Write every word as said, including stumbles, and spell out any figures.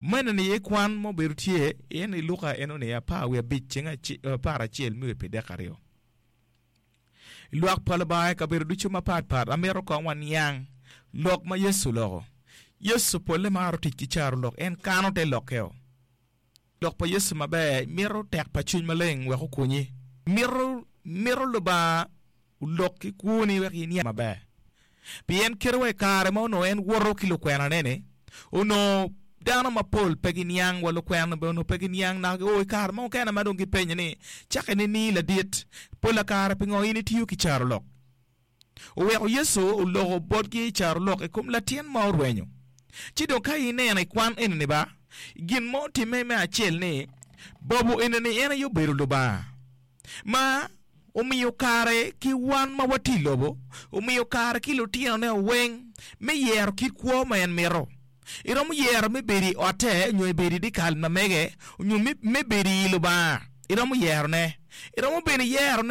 Meno ni ye kwan ma obedo tye en i Luka eno ni apar wiye abic ceng apar acel me wi pyedek aryo. Lwak pa Lubanga i kabedo ducu mapatpat amito kong waniang lok ma Yecu oloko. Yecu polle maro tic ki carolok, en kano te lokkeo. Lok pa Yecu maber mito tek pa cwiny maleng wek okonyi. Mito mito Lubanga olok ki kwoni wek iniang maber. Pien kite wa i kare ma onongo en woto ki lukwenane-ni, onongo dano mapol pe giniang wa lukwena bene onongo pe giniang naka o i kare mo kene ma dong gipenyo ni, Cakke nining ladit? Pola kare pingo in itiyo ki carolok? Oweko Yecu oloko botgi i carolok i kom latin ma orwenyo. Ci dong ka ineno i kwan eni-ni ba, gin ma otimme me acel ni, bobo eni-ni en aye obedo Lubanga ma omiyo kare ki wan ma watye i lobo, omiyo kare ki lutinone weng me yero kit kwo ma en mito. Iromo yero me bedo i otte nyo ibedo i dyekal ma mege nyo me bedo i Lubanga. Iromo yerone. Iromo bene yerone